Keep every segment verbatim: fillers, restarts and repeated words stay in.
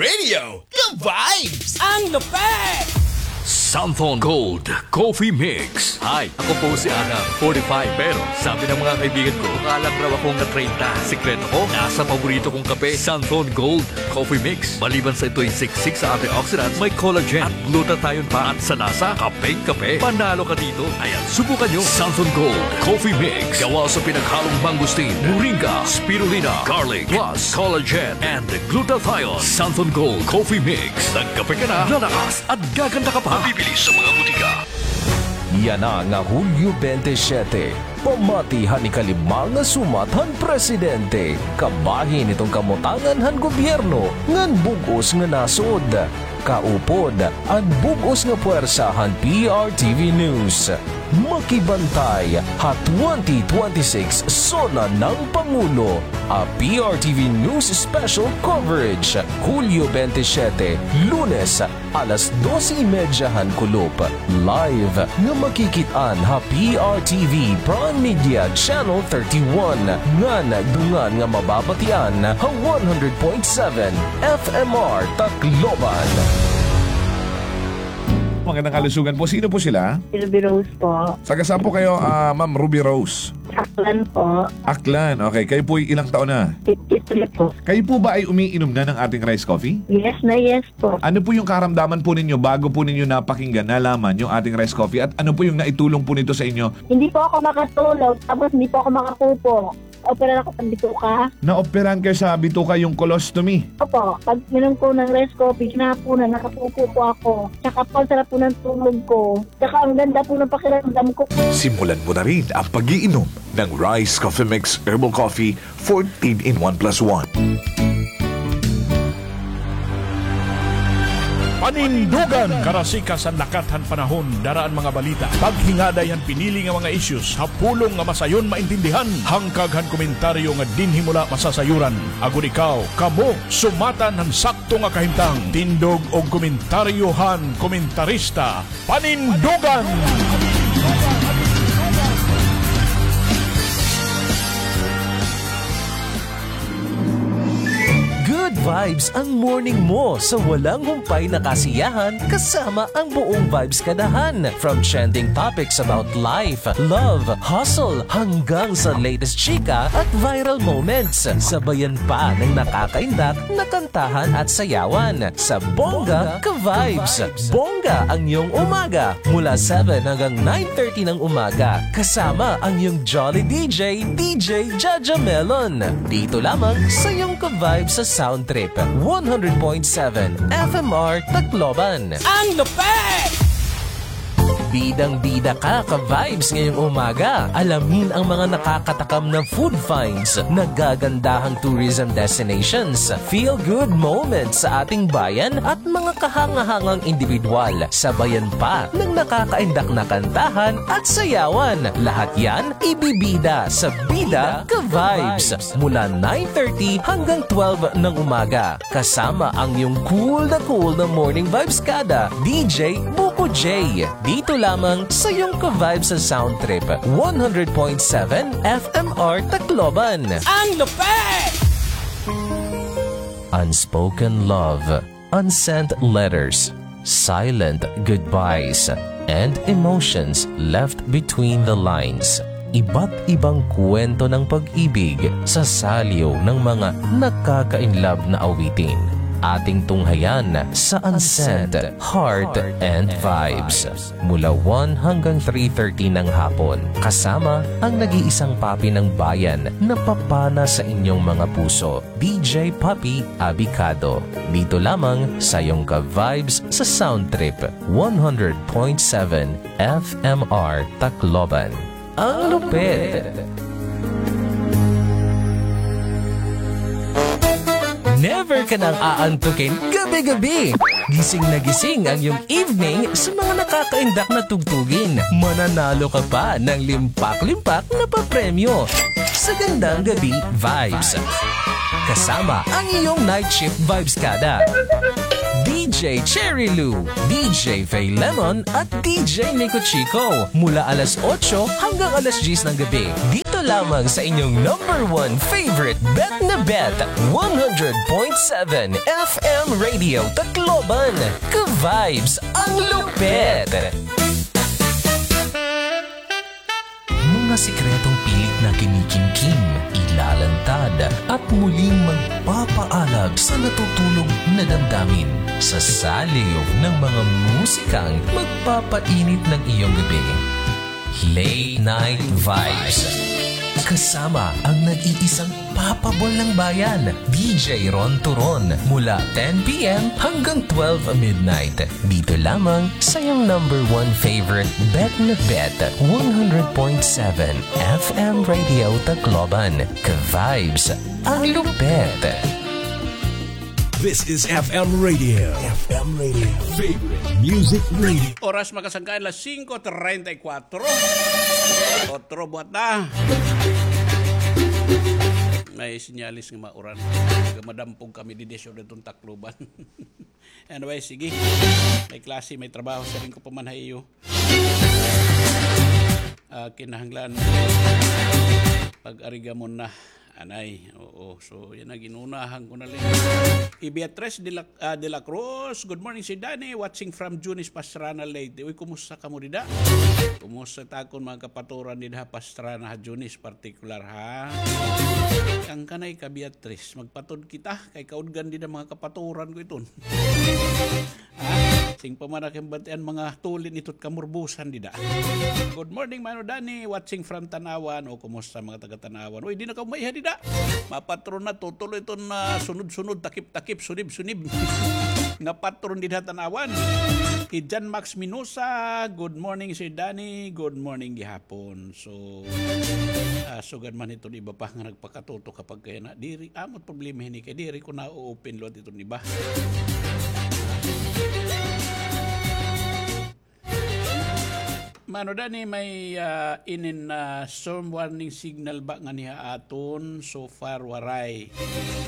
Inyo ka-vibes! Ang lupit! Santhon Gold Coffee Mix. Hi, ako po si Adam, forty-five. Pero sabi ng mga kaibigan ko, mukha lang raw akong na-treinta. Sikreto ko, nasa paborito kong kape, Santhon Gold Coffee Mix. Maliban sa ito'y siksik sa antioxidants, may collagen at glutathione pa. At sa lasa, kapeng-kape. Panalo ka dito. Ayan, subukan nyo. Santhon Gold Coffee Mix. Gawa sa pinaghalong mangosteen, moringa, spirulina, garlic, plus collagen and glutathione. Santhon Gold Coffee Mix. Nagkape ka na, lalakas at gaganda ka pa. Mabibili sa mga butika. Yana nga Hulyo twenty-seven, pamati han ikalima nga sumat han presidente, kabahin hiton kamutangan han gobyerno ngan bug-os nga nasod. Kaupod, an bug-os nga puwersa han P R T V News. Makibantay ha twenty twenty-six SONA ng Pangulo, a P R T V News Special Coverage, Hulyo twenty-seven, Lunes, alas dose y media han kulop. Live nga makikit-an ha P R T V Prime Media Channel thirty-one, ngan dungan nga mababatian ha one hundred point seven F M R Tacloban. Magandang kalusugan po. Sino po sila? Ruby Rose po. Taga saan po kayo, ah, Ma'am Ruby Rose? Aklan po. Aklan. Okay. Kayo po ay ilang taon na? Fifty-three po. Kayo po ba ay umiinom na ng ating rice coffee? Yes na yes po. Ano po yung karamdaman po ninyo bago po ninyo napakinggan, nalaman yung ating rice coffee? At ano po yung naitulong po nito sa inyo? Hindi po ako makatulog, tapos hindi po ako makapupo. Operahan ako sa bituka. Naoperahan kayo sa bituka, yung colostomy? Opo. Pag minom ko ng rice coffee, hinapunan, nakapupo po ako. Tsaka po, sarap po ng tulog ko. Tsaka ang ganda po ng pakiramdam ko. Simulan mo na rin ang pag-iinom ng Rice Coffee Mix Herbal Coffee fourteen in one plus one. Panindugan! Karasikas han lakat han panahon, dara an mga balita. Paghingaday han pinili nga mga issues ha pulong nga masayon maintindihan. Hangkag han komentaryo nga dinhi mo la masasayuran. Agod ikaw, kamo, sumatan han sakto nga kahimtang. Tindog og komentaryo han komentarista. Panindugan! Good vibes ang morning mo sa walang humpay na kasiyahan kasama ang buong Vibes Kadahan. From trending topics about life, love, hustle, hanggang sa latest chika at viral moments. Sabayan pa ng nakakaindak na kantahan at sayawan sa Bongga Ka Vibes. Bongga ang iyong umaga mula seven hanggang nine thirty ng umaga. Kasama ang iyong Jolly D J, D J Jaja Melon. Dito lamang sa iyong Ka Vibes sa Sound Trip, one hundred point seven F M R Tacloban. Ang lupit! Bidang-bida ka, ka-vibes, ngayong umaga. Alamin ang mga nakakatakam na food finds, nagagandahang tourism destinations, feel-good moments sa ating bayan at mga kahanga-hangang indibidwal. Sabayan pa ng nakakaindak na kantahan at sayawan. Lahat yan ibibida sa Bida Ka Vibes mula nine thirty hanggang twelve ng umaga. Kasama ang iyong cool na cool na morning vibes kada, D J Buko J. Dito lamang sa iyong ka-vibes sa Sound Trip, one hundred point seven F M R Tacloban. Ang lupit! Unspoken love, unsent letters, silent goodbyes, and emotions left between the lines. Iba't ibang kwento ng pag-ibig sa saliw ng mga nakaka-inlove na awitin. Ating tunghayan sa Unsent Heart and Vibes mula one hanggang three thirty ng hapon, kasama ang nag-iisang papi ng bayan na papana sa inyong mga puso, D J Papi Abicado. Dito lamang sa iyong ka-vibes sa Sound Trip, one hundred point seven F M R Tacloban. Ang lupit! Never ka nang aantukin gabi-gabi. Gising na gising ang iyong evening sa mga nakakaindak na tugtugin. Mananalo ka pa ng limpak-limpak na papremyo sa Gandang Gabi Vibes. Kasama ang iyong night shift vibes kada. D J Cherry Lou, D J Faye Lemon, at D J Nico Chico. Mula alas otso hanggang alas diyes ng gabi. Dito lamang sa inyong number one favorite bet na bet, one hundred point seven F M Radio Tacloban. Ka-vibes, ang lupet! Mga sikretong pilit na kinikimkim, ilalantad, at muling magpapaalab sa natutulog na damdamin sa saliw ng mga musikang magpapainit ng iyong gabi. Late Night Vibes. Kasama ang nag-iisang papabol ng bayan, D J Ron Turon, mula ten P M hanggang twelve midnight. Dito lamang sa iyong number one favorite bet na bet, one hundred point seven F M Radio Tacloban. Ka-vibes, ang lupet! This is F M Radio. F M Radio. Favorite Music Radio. Oras, mga kasangkayan, alas singko treinta y cuatro. Otro buhat na. May sinyalis nga mauran. Madampog kami didi sa iton Tacloban. Anyway, sige. May klase, may trabaho. Siring ko pa man ha iyo. Ah, kinahanglan pag-arigamon na. Anay, oo. So, yana, ginunahan ko na lang. I Beatrice de la, ah, de la Cruz, "Good morning, Sir Danny. Watching from Junis, Pastrana, Leyte." Uy, kumusta kamo dida? Kumusta it akon mga kapaturan dida ha Pastrana, ha Junis, partikular, ha? Ang kanay ka, Beatrice, magpatod kita, kay kaudgan dida mga kapaturan ko iton. Ha? Siring pa man ak, bati an mga tulin ito it kamurbusan dida. "Good morning, Mano Danny, watching from Tanauan." O, kumusta mga taga Tanauan? Uy, di na kamo maiha dida. Mapatron na, tutuloy iton, ah, sunod-sunod, takip-takip, sunib-sunib nga patron dida ha Tanauan. Hi Jan Max Minosa, "Good morning, Sir Danny." Good morning gihapon. So, ah, sugad man iton iba pa nga nagpakatutok ha pagkayana. Diri, amo it problema hini kay diri ko na-open liwat iton iba. Mano Danny, may, ah, inin, ah, storm warning signal ba nganhi ha aton? So far, waray.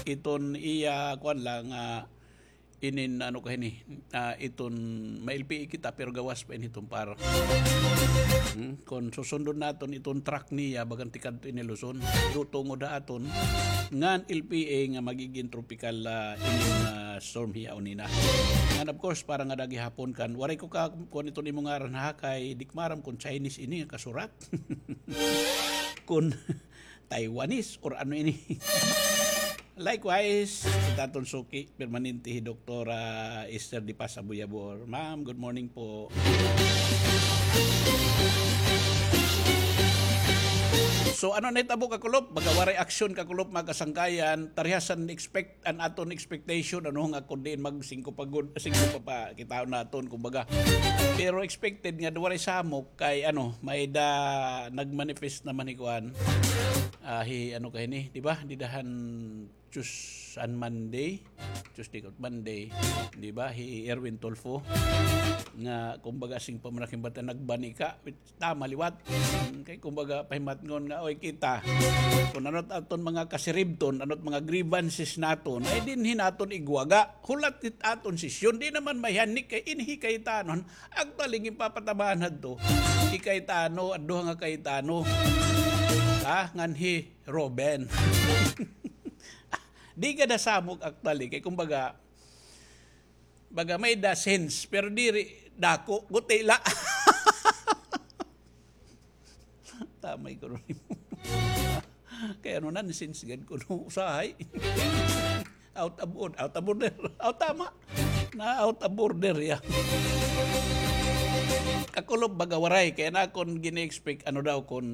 Iton iya, kuan la, ah, inin ano ka hini, ah, iton ma-L P A kita, pero gawas pa ini iton par. Hmm? Kon susundon naton iton track niya, bagan tikadto ini Luzon. Pero tungod ha aton, ngan L P A nga magigin tropical, ah, inin, ah, storm hiya unina. Ngan of course, para ngada gihapon kan, waray ko ka, kuan iton imo ngaran ha, kay di ko maaram kon Chinese ini nga kasurat. Kon Taiwanese or ano ini. Likewise, it aton suki, permanente, hi Doktora Esther de Paz Abuyabor. Ma'am, good morning po. So, ano na it abo, kakulop? Baga waray aksyon, kakulop, mga kasangkayan. Tarihasan expect an aton expectation, ano, nga kun diin mag singko pa gud, singko pa pa, kitaon naton, kumbaga. Pero expected nga waray samok kay, ano, may da nagmanifest naman hi kuan. Ah, hi, ano ka hini, di ba? Dida han Tues-, an Monday, Tuesday ko, Monday, di ba? Hi Erwin Tulfo nga, kumbaga, siring pa man ak, bati an nagbanika, tama liwat. Mm, kay kumbaga, pahimatngon nga, oy, kita, kun ano it aton mga kasiribton, ano it mga grievances naton, ay dinhi naton igwaga. Hulat it aton sesyon, di naman mahihanik kay inhi Cayetano. Actually, ginpapatamaan hadto hi Cayetano, an duha nga Cayetano. Ha? Ngan hi Roben. Di gad ha samok, actually, kay kumbaga, baga may-ada sense, pero diri dako, guti la. Tamay ko ron. Kay ano, nonsense gad kuno usahay. Out of order, out of order. Aw, tama. Na-out of order, ya. Kakulop, baga waray. Kay an akon gini-expect, ano daw, kun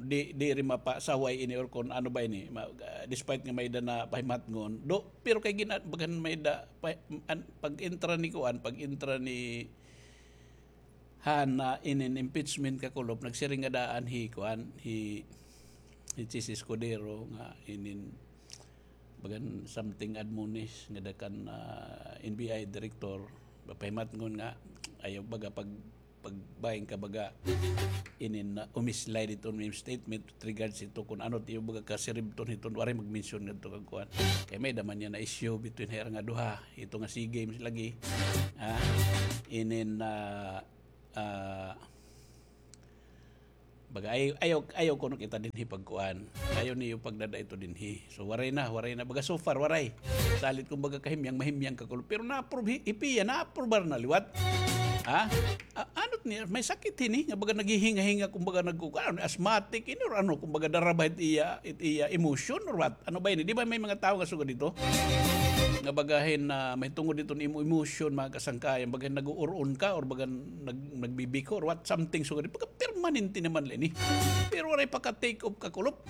di, diri mapasaway ini or kun ano ba ini. Ma-, despite nga may-ada na pahimatngon. Do, pero kay gina-, bagan may-ada pa, an, pag-entra ni kuan, pag-entra ni han, ah, inin impeachment, kakulop, nagsiring ngada an hi kuan, hi, hi Chiz Escudero nga inin bagan something admonish ngada kan, ah, N B I director, pahimatngon nga ayaw baga pag pagbahin ka baga inin na umislay dito may statement with regards ito kung ano tiyo baga kasiribton hiton waray magmensyon ngadto kag kuan. Kay may daman niya na issue between hira nga duha, ito nga SEA Games lagi. Ah, inin, ah, ah, baga, ay-, ayaw, ayaw kuno kita dinhi pagkuan. Ayaw niyo pagdada ito dinhi. So, waray na, waray na. Baga, so far, waray. Salit kumbaga kahimyang, mahimyang ka kuno. Pero na-approve, hi-, hipiya, na-approbar na liwat. Ha? A-, ano niya, may sakit hini, nga baga naghihinga-hinga, kumbaga nagkukuan, asthmatic, ini, or ano, kumbaga daraba it iya, it iya emotion, or what? Ano ba ini? Di ba may mga tao nga sugad dito? Nga bagahin na may tungod dito ni imo emotion, mga kasangkayan, bagahin nag-uuron ka, or baga nag-, nagbibiko, or what, something sugad dito. Baga permanente naman la ini. Pero waray pa ka take off ka kulop.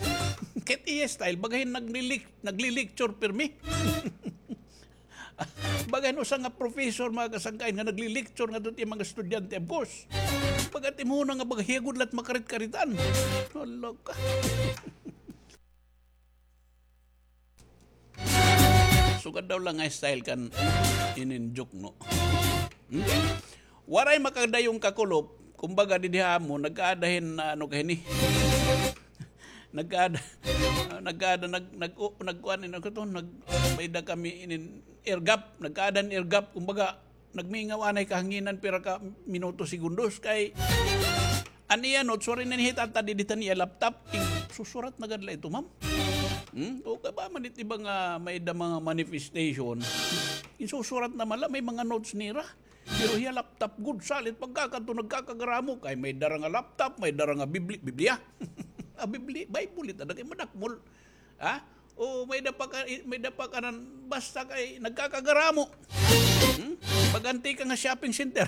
Kahit iya style, bagahin naglilik-, nagli-lecture pirmi. Baga hin usa nga professor, mga kasangkayan, nga nagli-lecture ngadto it iya mga estudyante, of course. Baga it imo na nga baga hiya gud la it makarit-karitan. Hala ka. Sugad daw la nga style kan inin joke, no? Hmm? Waray makadayon ka kulop, kumbaga didi ha amo, nagkaada hin, ah, ano ka hini? Nagkaada, ah, nagkaada, nag-, nag-, o, nagkuan, ano ka to? Nag-, may-ada kami inin air gap, nagkaada hin air gap, kumbaga, nagmingaw anay kahanginan, pira ka minuto, segundos, kay an iya notes, waray na niya hitatad didi han iya laptop, ig-, susurat na gad la ito, ma'am. Hmm? O, kay ba man it iba nga may-ada mga manifestation, ginsusurat na man la, may mga notes nira. Pero hiya laptop gud, salit pagkakadto nagkakagaramo, kay may dara nga laptop, may dara nga Bibli-, Biblia. Ah, Bibli-, Bible it ada kay madakmol. Ha? O may-ada pa ka, may-ada pa kanan, basta kay nagkakagaramo. Hmm? Pag-anti ka nga shopping center.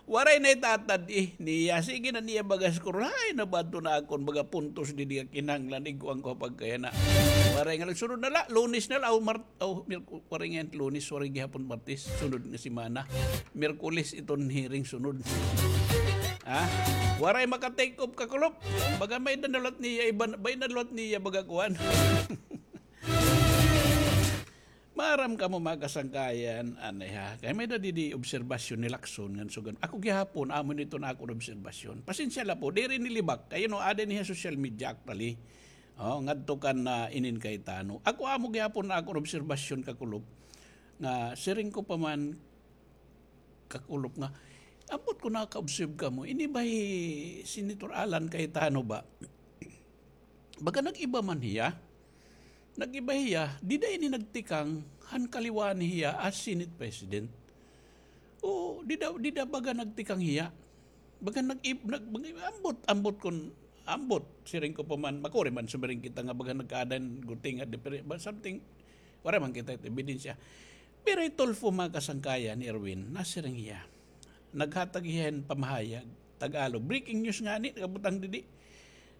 Waray na itatad, eh, niya. Sige na niya baga score. Hay, nabato na akon baga puntos didi nga kinahanglan, iguan ko pagkayana. Waray nga nagsunod na la, Lunes na la, o Mar-, o, Mirku-, waray nga Lunes, waray gihapon Martes, sunod nga semana. Miyerkules iton hearing sunod. Ha? Waray maka-take off ka kulop. Baga may-ada liwat niya, iba, may-ada liwat niya, baga kuan. Maaram kamo, mga kasangkayan, anay ha. Kay may-ada didi obserbasyon ni Lacson ngan sugad. Ako gihapon, amo ini iton akon obserbasyon. Pasensya la po, diri ini libak. Kay, you know, aada ini ha social media actually. O, ngadto kan, ah, inin Cayetano. Ako amo gihapon an akon obserbasyon ka kulop. Nga, siring ko pa man, ka kulop nga, ambot kon naka-observe kamo, ini ba hi Senator Alan Cayetano ba? Baga nag-iba man hiya. Nag-iba hiya, dida ini nagtikang han kaliwaan hiya as Senate President. O, dida, dida baga nagtikang hiya. Baga nag-, nag-, nag-, ambot, ambot kon, ambot, siring ko pa man, makuri man sumiring kita nga baga nagkaada hin guti nga dipre-, ba, something, waray man kita it ebidensya. Pero hi Tulfo, mga kasangkayan, ni Erwin, nasiring hiya. Naghatag hiya hin pamahayag, Tagalog. Breaking news ngani, nakabutang didi.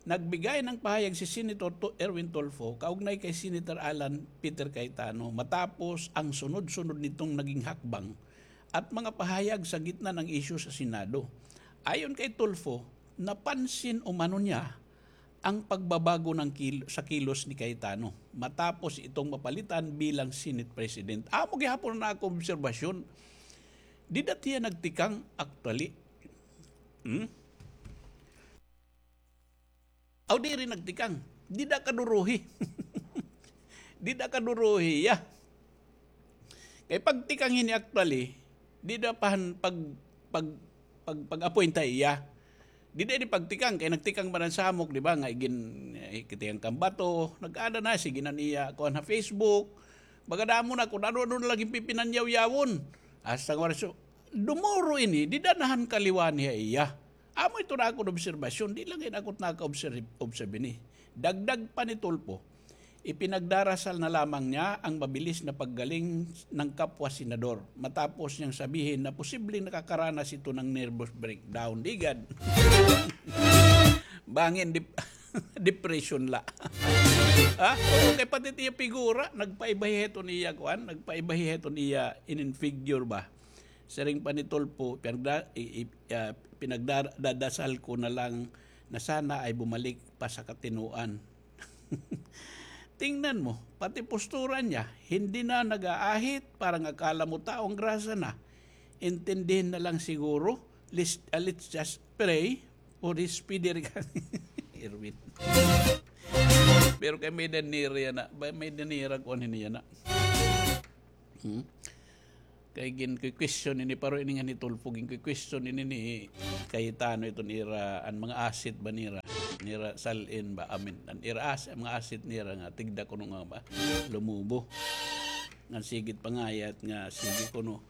Nagbigay ng pahayag si Senator Tu-, Erwin Tulfo kaugnay kay Senator Alan Peter Cayetano matapos ang sunod-sunod nitong naging hakbang at mga pahayag sa gitna ng isyu sa Senado. Ayon kay Tulfo, napansin umano niya ang pagbabago ng kil-, sa kilos ni Cayetano matapos itong mapalitan bilang Senate President. Amo gihapon an akon obserbasyon. Dida hiya nagtikang, actually. Hmm? Aw, diri nagtikang. Dida kaduruhi. Dida kaduruhi, ya. Kay pagtikang hini actually, dida pa han pag, pag, pag, pag-appoint ha iya. Dida ini pagtikang, kay nagtikang man an Samok, di ba, nga igin-, eh, kitikang kan bato, nag-aada na, sige na niya, kuan ha Facebook, baga damo na, kun ano-ano na la ginpipinanyaw-yawon. Hasta nga waray, so, dumuro ini, dida na han kaliwaan niya iya. Amo ito an akon obserbasyon, di la ngay-an ako it naka-observe, observe ini. Dagdag pa ni Tulfo, ipinagdarasal na lamang niya ang mabilis na paggaling ng kapwa senador matapos niyang sabihin na posibleng nakakaranas ito ng nervous breakdown. Di gad. Bangin dep-, depression la. Ha? Oo, kay pati it iya figura, nagpaiba hiya hiton iya, kuan, nagpaiba hiya hiton iya inin figure ba? Siring pa ni Tulfo, pinagda-, i-, i-, ah, pinagdadasal ko na lang na sana ay bumalik pa sa katinuan. Tingnan mo, pati postura niya, hindi na nag-aahit, parang akala mo taong grasa na. Intindihin na lang siguro. Let's, ah, let's just pray for his speedy recovery. Erwin. Pero kay may danira yana. May danira kuan ini yana. Hmm? Kay gin-question ini, paro ini nga ni Tulfo, gin-question ini ni Cayetano iton ira, an mga asset ba nira, nira sal-in ba, amin, an ira as-, mga asset nira nga tigda kuno nga ba, lumubo. Nga sigit pangayat nga sige kuno.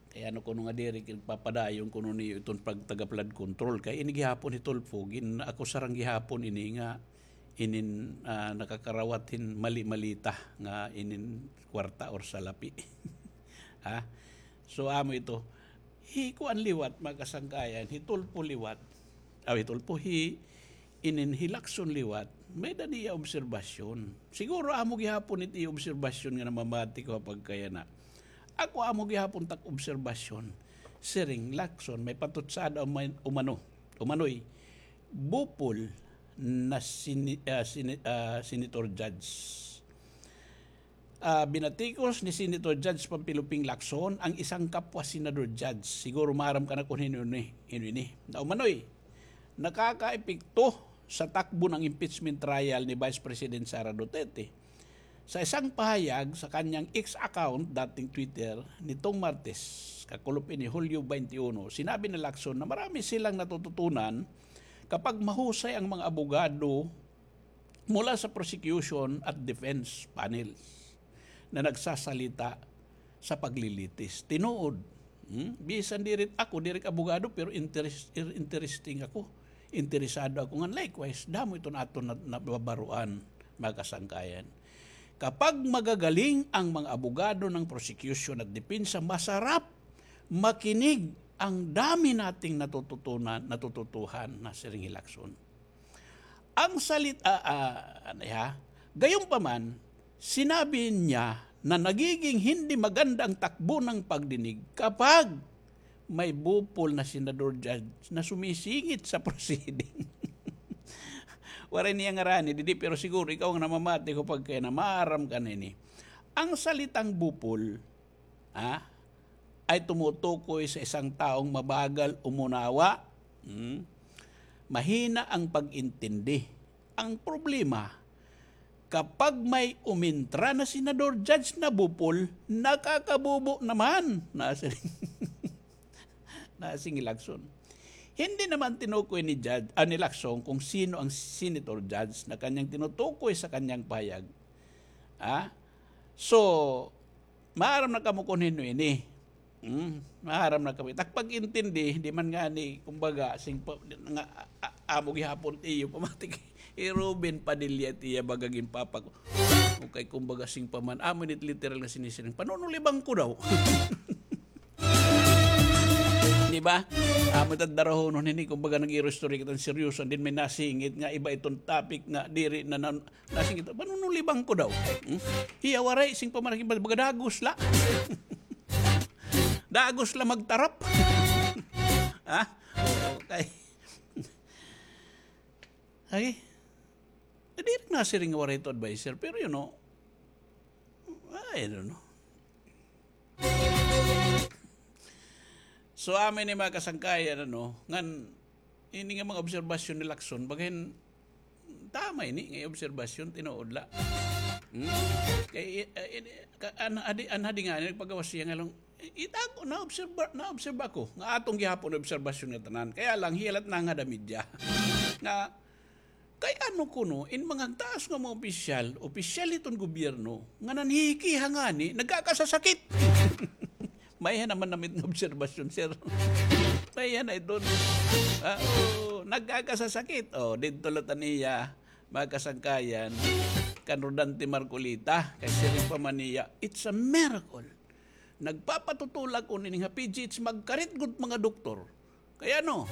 Kay ano kuno nga diri, papadayon kuno niyo iton pagtaga flood control. Kay ini gihapon ni Tulfo, gin-akusar gihapon ini nga inin, ah, nakakarawat hin mali-malita nga inin kwarta or salapi. Ha? So, amo ito. Hi kuan liwat, mga kasangkayan, hi Tulfo liwat. Aw, hi Tulfo, hi, inin hi Lacson liwat. May-ada niya obserbasyon. Siguro amo gihapon it iya obserbasyon nga namamati ko ha pagkayana. Ako amo gihapon tak obserbasyon. Siring Lacson, may patutsada uman-, umano. Umanoy. Bupol na sini-, ah, sini-, ah, senator judge. Ah, binatikos ni Senator Judge Panfilo Ping Lacson ang isang kapwa senador judge. Siguro maaram ka na kun hin-o ini, hin-o ini. Na umanoy, nakakaepekto sa takbo ng impeachment trial ni Vice President Sara Duterte. Sa isang pahayag sa kanyang X account, dating Twitter, nitong Martes, kakulop ini Hulyo twenty-one, sinabi ni Lacson na marami silang natututunan kapag mahusay ang mga abogado mula sa prosecution at defense panels na nagsasalita sa paglilitis. Tinuod. Hmm? Bisan diri ako, diri ak abogado, pero interes-, interesting ako. Interesado ako nga likewise, damo iton aton na, nababaruan, mga kasangkayan. Kapag magagaling ang mga abogado ng prosecution at depensa, masarap makinig, ang dami nating natututunan, natututuhan na siring hi Lacson. Ang salit-, ah, ah, ano, ha? Gayunpaman, sinabi niya na nagiging hindi maganda ang takbo ng pagdinig kapag may bupol na senador judge na sumisingit sa proceeding. Waray niya ngarani didi, pero siguro ikaw nga namamati ko pagkayana, maaram ka na ini. Ang salitang bupol, ha, ay tumutukoy sa isang taong mabagal umunawa. Hmm? Mahina ang pag-intindi. Ang problema, kapag may umintra na senador judge na bupol, nakakabubo naman. Nasiring, nasiring hi Lacson. Hindi naman tinukoy ni judge, ah, ni Lacson kung sino ang senator judge na kanyang tinutukoy sa kanyang pahayag. Ah? So, maaram na kamo kun hin-o ini. Hmm, maaram na kamo. Tak pag-intindi, di man ngani, kumbaga, sing pa, nga, a-, a-, amo gihapon iyo pamati kay hi Robin Padilla it iya baga ginpapako. Okay, kumbaga, sing pa man, amo ini it literal nga sinisiring. Panunulibangko daw. Di ba? Amo it darahonon hini, kumbaga, nag-iistorya kita hin seryoso, and then may nasingit nga iba iton topic nga diri na, na Nasing ito, panunulibangko daw. Hmm? Hiya waray, sing pa man, baga dagos la. Dagos la magtarap. Ha? Okay. Ay. Diri nasiring nga waray ito adviser, pero you know, I don't know. So, amo ini mga kasangkayan, ano, ngan, ini nga mga obserbasyon ni Lacson, bagahin, tama ini nga obserbasyon, tinuod la. Hmm? Kay, eh, eh, ka-, an-, adi, an-, adi nga, nagpagawas siya nga lang, itago, naobserba, naobserba ko, nga aton gihapon obserbasyon nga tanan. Kaya lang, hiyalat na nga da media. Nga, Kay ano kuno, in mga taas nga mga opisyal, opisyal hiton gobyerno, nga nanhihikiha ngani, nagkakasasakit. Maiha naman namit nga obserbasyon, sir. Maiha na iton. Ah, oo, nagkakasasakit. O, didto la ta niya, mga kasangkayan, kan Rodante Marcoleta, kay siring pa man niya, it's a miracle. Nagpapatutulak ko nini ha P G H, magkarit gud mga doktor. Kay ano,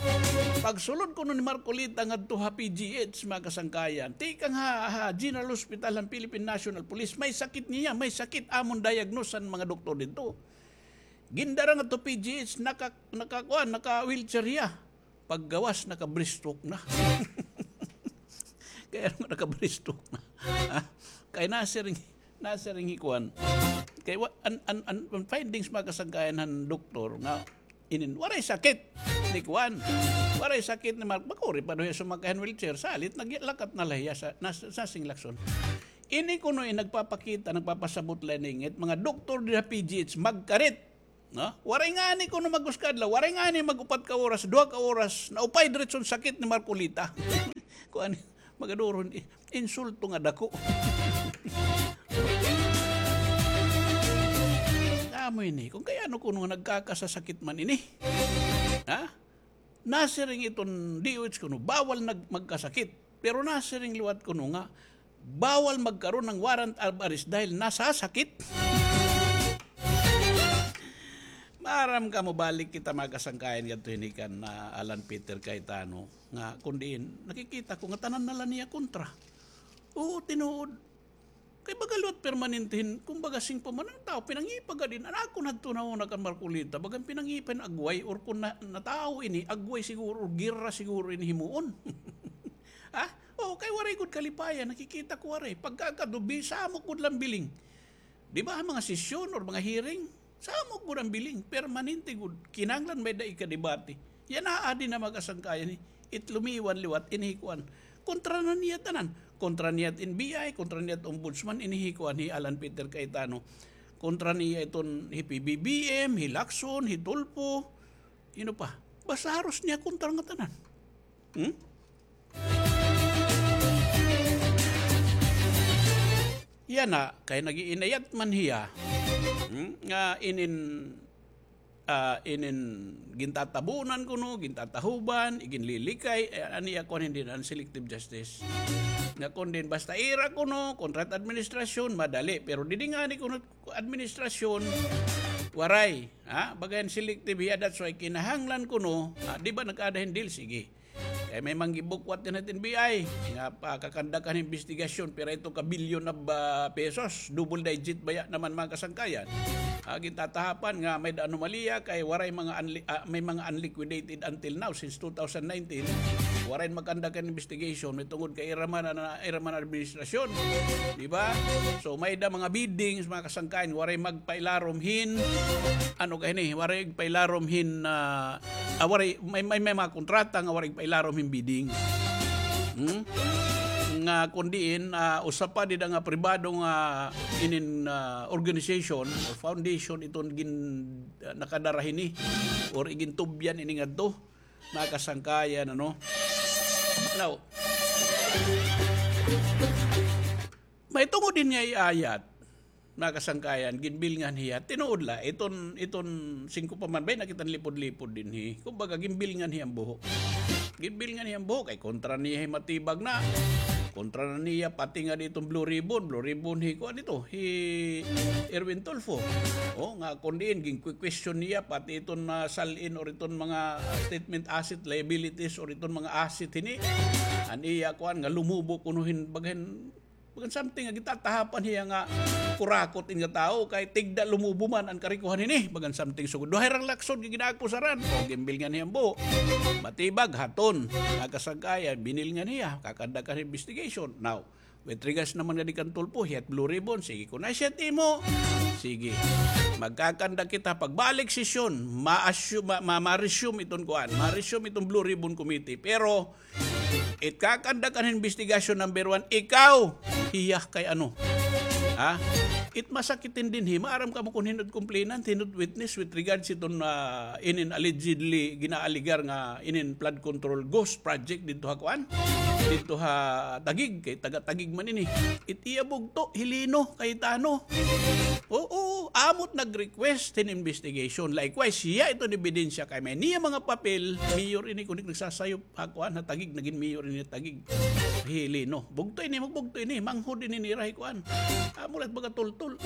pagsulod kuno ni Marcoleta ngadto ha P G H, mga kasangkayan, tikang ha, ha General Hospital han Philippine National Police, may sakit niya, may sakit, amon diagnose han mga doktor didto. Gindara ngadto P G H, naka-, nakakuan, naka-wheelchair hiya. Paggawas, naka-breaststroke na. Kay ano nga naka-breaststroke na? Ha? Kay nasiring, nasiring hi kuan. Kay wa-, an, an, an, an findings, mga kasangkayan, han doktor nga inin, waray sakit ni kuan. Waray sakit ni Mark. Makuri pa daw hiya sumakay han wheelchair. Salit, naglakat na la hiya sa, nas-, sa singlakson. Ini kuno in nagpapakita, nagpapasabot la ini ngit, mga doktor dida ha P G H, magkarit. No? Waray ngani kuno mag-usa ka adlaw, waray ngani mag-upat ka oras, duha ka oras, naupay diretso an sakit ni Marcolita. Kuan, magaduron, i-, insulto nga dako. Amo ini, kon kay ano kuno nga nagkakasasakit man ini. Ha? Nasiring iton D O H kuno, bawal nag-, magkasakit. Pero nasiring liwat kuno nga, bawal magkaroon ng warrant of arrest dahil nasasakit. Maaram kamo, balik kita, mga kasangkayan, ngadto hini kan, ah, Alan Peter Cayetano, nga kon diin, nakikita ko nga tanan na la niya kontra. Oo, tinuod. Kay baga liwat permanente hin, kumbaga, singko man an tawo, pinangipa gad hin, an akon hadto na una kan Marcolita, bagan pinangipa hin agway, or kon na, natawo ini, agway siguro, or gera siguro ini himuon. Ha? Oo, kay waray gud kalipayan, nakikita ko waray. Pagkakadubi, samok gud la an biling. Di ba, mga sesyon or mga hearing, samok gud an biling, permanente gud. Kinahanglan may-ada ikadebate. Yana, adi na, mga kasangkayan, eh. It lumiwan liwat, ini hi kuan. Kontra na niya tanan. Kontra niya it N B I, kontra niya it ombudsman, ini hi kuan, hi Alan Peter Cayetano. Kontra niya iton hi P B B M, hi Lacson, hi Tulfo. Hin-o pa? Basta haros niya kontra nga tanan. Hmm? Yana, kay nag-iinayat man hiya, hmm, nga inin, ah, inin gintatabunan kuno, gintatahuban, iginlilikay, eh, an iya kuan, hin-o, an selective justice. Nga kon diin basta ira kuno, kontra it administrasyon, madali. Pero didi ngani kuno administrasyon, waray. Ha? Baga hin selective hiya, that's why kinahanglan kuno, ah, di ba nag-aada hin deal? Sige. Kay may manggibukwat dinhi ha N B I nga pakakandakan hin imbestigasyon, pira ito ka bilyon of, ah, pesos, double digit baya naman, mga kasangkayan. Ah, gintatahapan nga may-ada anomalya kay waray mga unli-, ah, may mga unliquidated until now, since two thousand nineteen. Waray makandakan hin investigation, may tungod kay ira man an, ira man an administrasyon. Di ba? So, may-ada mga biddings, mga kasangkayan, waray magpailarom hin, ano ka hini, waray pailarom hin, ah, Ah, waray, may, may, may mga kontrata nga waray pailarom hin bidding. Hmm? Nga kon diin, ah, usa pa dida nga pribado nga inin, ah, organization or foundation iton gin-, ah, nakadara hini or igintubyan ini ngadto, mga kasangkayan, ano? Now, may tungod din niya iayat. Mga kasangkayan, ginbilngan hiya. Tinuod la, iton, iton singko pa man, bay, nakita nilipod-lipod dinhi. Kumbaga, ginbilngan hiya an buho. Ginbilngan hiya an buho, kay kontra niya hi Matibag na. Kontra na niya, pati nga diton Blue Ribbon, Blue Ribbon hi, kuan dito, hi Erwin Tulfo. O, nga kon diin, gin-question niya, pati iton, ah, sal-in or iton mga statement asset, liabilities, or iton mga asset hini. An iya, kuan, nga lumubo kuno hin, bagan, Bagan something nga gintatahapan hiya nga kurakot ini nga tawo kay tigda lumubo man an karikohan hini. Bagan something sugod. Duhay rang laksod nga ginaagpusaran. O, ginbilngan hiya an buho. Matibag, haton. Mga kasangkayan, binilngan hiya. Kakandakan hin investigation. Now, with regards naman nga di kan Tulfo, hiya it Blue Ribbon. Sige, kon asya it imo. Sige. Magkakandak kita pagbalik sesyon. Ma-assume, ma-, ma-, ma-resume iton kuan. Ma-resume iton Blue Ribbon Committee. Pero, It kakandakan hin investigasyon, number one, ikaw, hiya kay ano? Ha? It masakit hin dinhi, maaram kamo kon hin-o it complainant, hin-o it witness with regards iton, ah, inin allegedly ginaaligar nga inin flood control ghost project didto ha kuan? Didto ha Taguig, kay taga Taguig man ini. It iya bugto, hi Lino Cayetano. Oo, amo it nag-request hin investigation. Likewise, hiya iton ebidensya kay may niya mga papel, mayor ini kon di nagsasayop. Ha kuan, ha Taguig, nagin mayor ini ha Taguig. Hi Lino. Bugto ini, magbugto ini, manghod ini nira hi kuan. Amo la it baga tultol.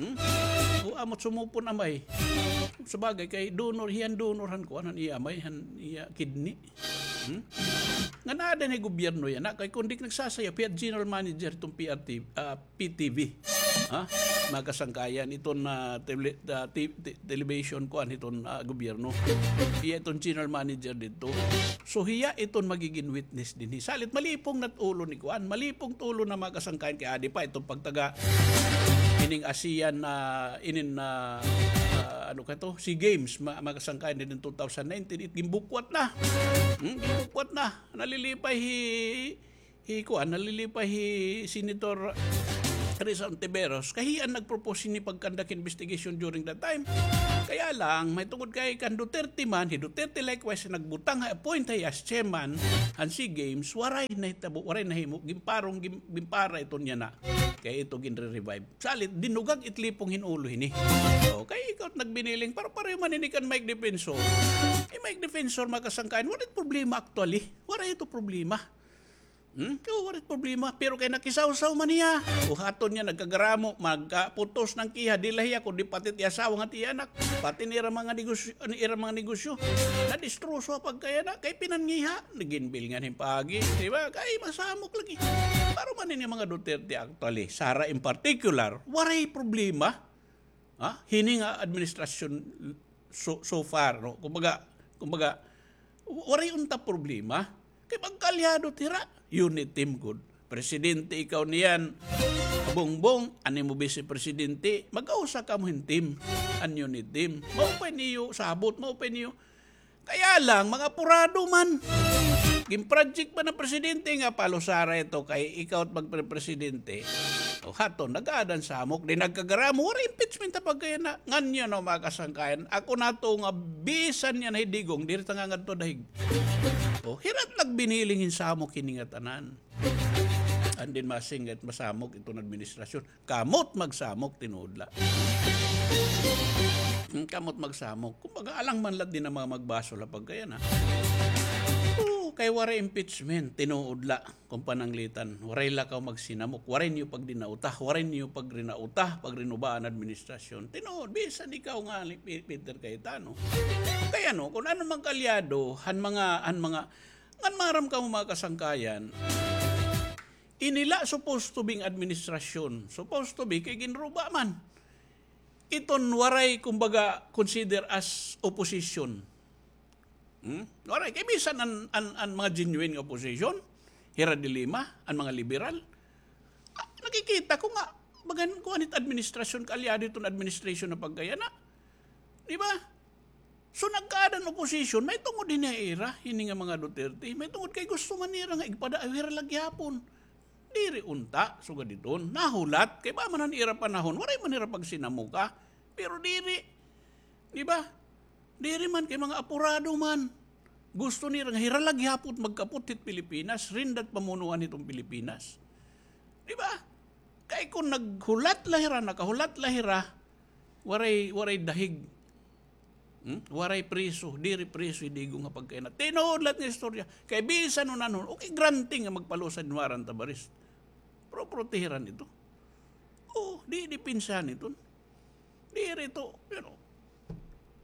Hmm? O, amo it sumupon amay. Sabagay, kay donor, hiya an donor han kuan, han iya amay, han iya kidney. Hmm? Ngan aada ini gobyerno yana, kay kon di nagsasayop, hiya it general manager iton P R T V, ah, P T V. Ha? Mga kasangkayan, iton, ah, tele-, ah, ti-, ti-, television, kuan, iton, ah, gobyerno. Iya iton general manager didto. So, hiya iton magigin witness dinhi. Salit, malipong na it ulo ni kuan. Malipong it ulo na, mga kasangkayan, kay adi pa iton pagtaga ining ASEAN na, inin na, ah, ano ka to, SEA Games, ma-, mga kasangkayan, din two thousand nineteen, it ginbukwat na. Hmm, ginbukwat na. Nalilipay hi, hi kuan, nalilipay hi Senator Risa Hontiveros. Kay hiya an nag-propose hini pag-conduct investigation during that time. Kaya lang, may tungod kay kan Duterte man, hi Duterte likewise, nagbutang ha appoint ha iya as chairman han SEA Games, waray nahitabo, waray nahimo, ginparong, gin-, ginpara iton yana. Kay ito ginre-revive. Salit, dinugag it lipong hin ulo hini. O, kay ikaw it nagbiniling, pare-pareho man ini kan Mike Defensor. Hi Mike Defensor, mga kasangkayan, waray problema actually. Waray ito problema. Hmm? O, waray problema. Pero kay nakisawsaw man hiya. O, haton niya, nagkagaramo, magkaputos na an kiha, di la hiya, kundi pati it iya asawa ngan it iya anak. Pati an ira mga negosyo, an ira mga negosyo. Nadistroso ha pagkayana, kay pinangiha. Naginbilngan hin paagi, di ba? Kay masamok lagi. Pare man ini mga Duterte actually, Sara in particular, waray problema. Ha? Hini nga administrasyon so, so far, no? Kumbaga, kumbaga, waray unta problema. Kay magkaalyado it ira, unit team gud. Presidente ikaw niyan, Bongbong, an imo vice presidente, magkausa kamo hin team, an unit team. Mao pa in iyo sabot, mao pa in iyo Kaya lang, mga apurado man. Gin-project man an presidente nga palusara ito kay ikaw it magpre-, presidente. O, haton, nag-aada hin samok, di nagkagaramo, waray impeachment ha pagkayana. Nganyan, no, mga kasangkayan, ako nato nga bisan niyan hi Digong, diri ta nga ngadto dahig. O, hira it nagbiniling hin samok hini nga tanan. And then masingit, masamok iton administrasyon. Kamo it magsamok, tinuod la. Hmm, kamo it magsamok. Kumbaga, alang man la din an mga magbasol ha pagkayana. Oo, kay waray impeachment, tinuod la. Kon pananglitan, waray la kaw magsinamok, waray niyo pagdinauta, waray niyo pagrinauta, pagrinuba an administrasyon. Tinuod, bisan ikaw nga ni Pe-, Peter Cayetano. Kay ano, kon ano man kaalyado, han mga, han mga, ngan maaram kamo mga kasangkayan, ini la supposed to be nga administrasyon. Supposed to be kay ginruba man. Iton waray, kumbaga, consider as opposition. Hmm? Waray. Kay bisan an, an, an mga genuine nga opposition, hira De Lima, an mga liberal, ah, nakikita ko nga, bagan, kuan it administrasyon, kaalyado iton administration ha pagkayana. Di ba? So, nagkaada an opposition, may tungod hini ha ira, hini nga mga Duterte, may tungod kay gusto man nira nga igpadayaw hira la gihapon. Diri unta, sugad iton, nahulat, kay ba man han ira panahon, waray man hira pagsinamuka. Pero diri, di ba? Diri man kay mga apurado man. Gusto nira nga hira la gihapon magkapot hit Pilipinas, rindat pamunuan hiton Pilipinas. Di ba? Kay kon naghulat la hira, nakahulat la hira, waray, waray dahig. Hmm? Waray preso, diri preso hi Digong ha pagkayana. Tinuod la it nga istorya. Kay bisan unanon, okay, granting nga magpalusad hin warrant of arrest. Pero protehiran ito. Oo, di, di pinsahan ito. Diri ito, you know,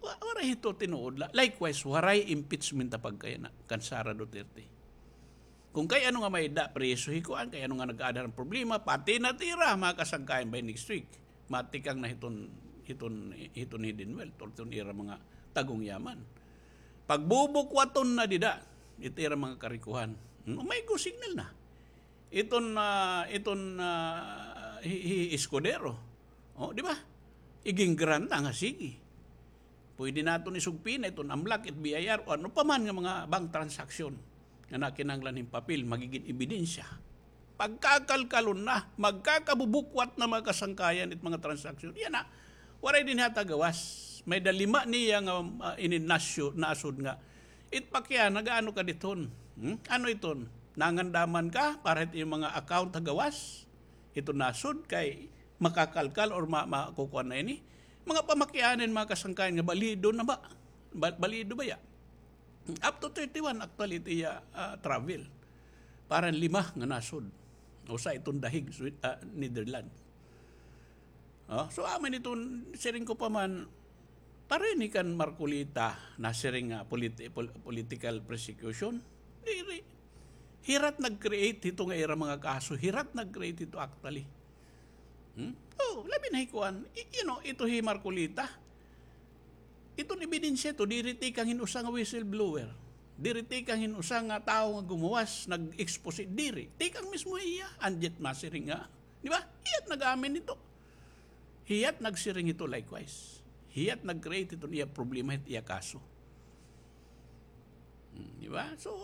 wa-, waray ito tinuod la. Likewise, waray impeachment ha pagkayana kan Sara Duterte. Kon kay ano nga may da, preso hi kuan, kay ano nga nag-aada hin problema, pati na it ira, mga kasangkayan by next week. Matikang na hiton, hiton, hiton hidden wealth, or hiton ira mga tagong yaman. Pagbubukwaton na dida, it ira mga karikohan. Hmm, may go signal na. Iton, ah, iton, ah, hi, hi Escudero. O, di ba? Igin-grant na nga, sige. Pwede naton isugpi na iton AMLAC, it B I R, o ano pa man nga mga bank transaction nga nakinahanglan hin papel, magigin ebidensya. Pagkakalkalon na, magkakabubukwat na mga kasangkayan it mga transaction. Yana, waray dinhi ha gawas. May-ada lima niya nga, ah, inin nasyo-, nasod nga. It pakya, nag-aano ka didton? Hmm? Ano iton? Nangandaman ka para it iyong mga account ha gawas? Ito nasod kay makakalkal or ma-, makukuan na ini. Mga pamakyanin, mga kasangkayan nga balido na ba? Ba-, balido ba ya? Up to thirty-one actually it iya, ah, travel. Para lima nga nasod. Usa iton dahig, Swi-, ah, Netherlands. Oh, so, amo ini iton, siring ko pa man, pareho ini kan Marcoleta, nasiring nga politi-, pol-, political persecution. Diri. Hira it nag-create hito nga ira mga kaso. Hira it nag-create hito actually. Hmm? Oh, labi na hi kuan. I-, you know, ito hi Marcoleta. Iton ebidensya ito, diri tikang hin usa nga whistleblower. Diri tikang hin usa nga tawo nga gumuwas, nag-expose, diri. Tikang mismo hiya, and yet masiring nga. Di ba? Hiya it nag-amin nito. Hiya't nagsiring hito likewise. Hiya't nag-create hiton iya problema, hit iya kaso. Hmm, di ba? So,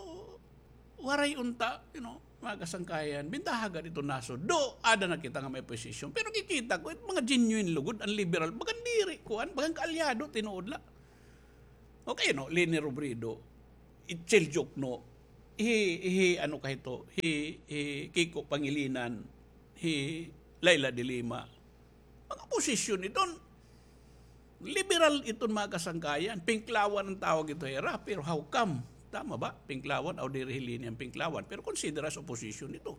waray unta, you know, mga kasangkayan, bintaha gad iton nasod. Do, ada na kita nga may opposition. Pero kikita ko, it mga genuine lugod, an liberal, bagan diri, kuan, bagan kaalyado, tinuod la. Okay, no, Leni Robredo, Itzel Diokno, hi, hi, ano ka hito, hi, hi Kiko Pangilinan, hi Leila de Lima. Mga opposition iton. Liberal iton, mga kasangkayan. Pinklawan an tawag ito hira, pero how come? Tama ba? Pinklawan, o diri hi Leni an pinklawan. Pero consider as opposition ito,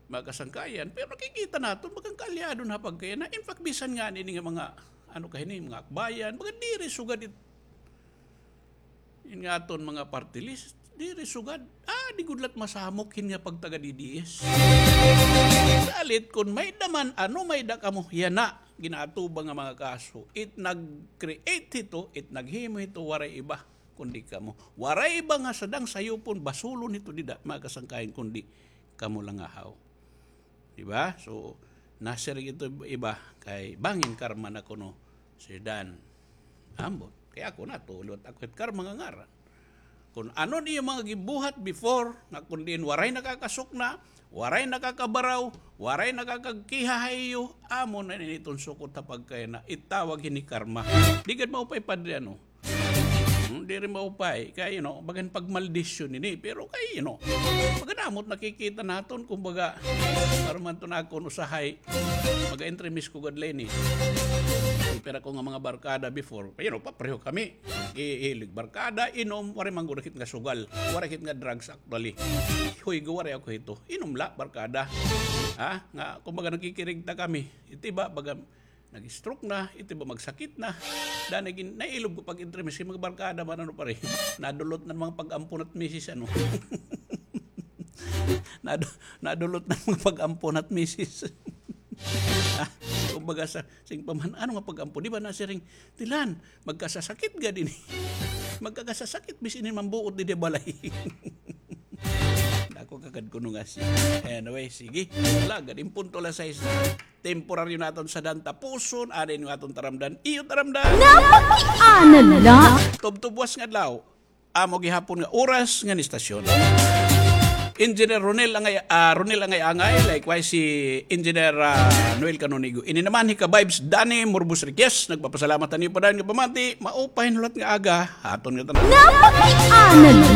mga kasangkayan. Pero nakikita naton, bagan kaalyado na pagkaya na. In fact, bisan ngani ini nga mga, ano ka hini, mga akbayan, bagan diri sugad it-, in nga aton mga party list, diri sugad. Ah, di gud la't masamok hin nga pagtaga D D S. Salit kon may-ada man, ano may-ada kamo, yana, ginaatubang nga mga kaso. It nag-create hito, it naghimo hito, waray iba kundi kamo. Waray iba nga sadang sayupon, basulon hito dida, mga kasangkayan, kundi kamo la ngahaw. Di ba? So, nasiring ito iba kay bangin karma na kuno si Dan. Ambot. Kay ako na, tulot ako it karma nga ngaran. Kon ano an iyo mga gibuhat before, nga kon diin waray nakakasukna, waray nakakabaraw, waray nakakagkiha ha iyo, amo na ini iton sukot ha pagkayana, itawag hini karma. Di gad maupay, Padre, ano? Hmm, diri maupay. Kay, you know, bagan pagmaldisyon ini. Pero kay, you know, bagan amo it nakikita naton, kumbaga, para man to na akon usahay, mag-entremis ko gad la ini. Pero ako nga mga barkada before, you know, papareho kami. Ihilig barkada, inom, waray man gud hit nga sugal. Waray hit nga drugs actually. Hoy, go, waray ako hito. Inom la, barkada. Ha? Nga, kumbaga, nakikirigta kami. Iti ba, baga, nag-stroke na, iti ba magsakit na. Danay gin-, nailob ko pag-entremis kay mga barkada man, ano, pare. Nadulot na mga pag-ampon at misis, ano. Nadu-, nadulot na mga pag-ampon at misis. Ah, kumbaga sa, sing pa man, ano nga pag-ampon? Di ba nasiring, Tilan, magkasasakit gad ini. Magkakasasakit, bis ini mambuot didi balay. Dako ka gad kuno nga siya. Anyway, sige. Wala, gad, in punto alas sais na. Temporaryo naton sa dantapuson, ada ini aton taramdan. Iyo taramdan. Napakiana la. Tubtub was nga adlaw. Amo gihapon nga oras ngan istasyon. Engineer Ronel Angay, ah, Ronel Angay-Angay, likewise si Engineer, ah, Noel Canonigo. Ini naman hi ka-vibes Danny Murbos Riquez, nagpapasalamat han iyo pa dayon nga pamati, maupay nga hulat nga aga, ha aton nga tanan. Napakiana la.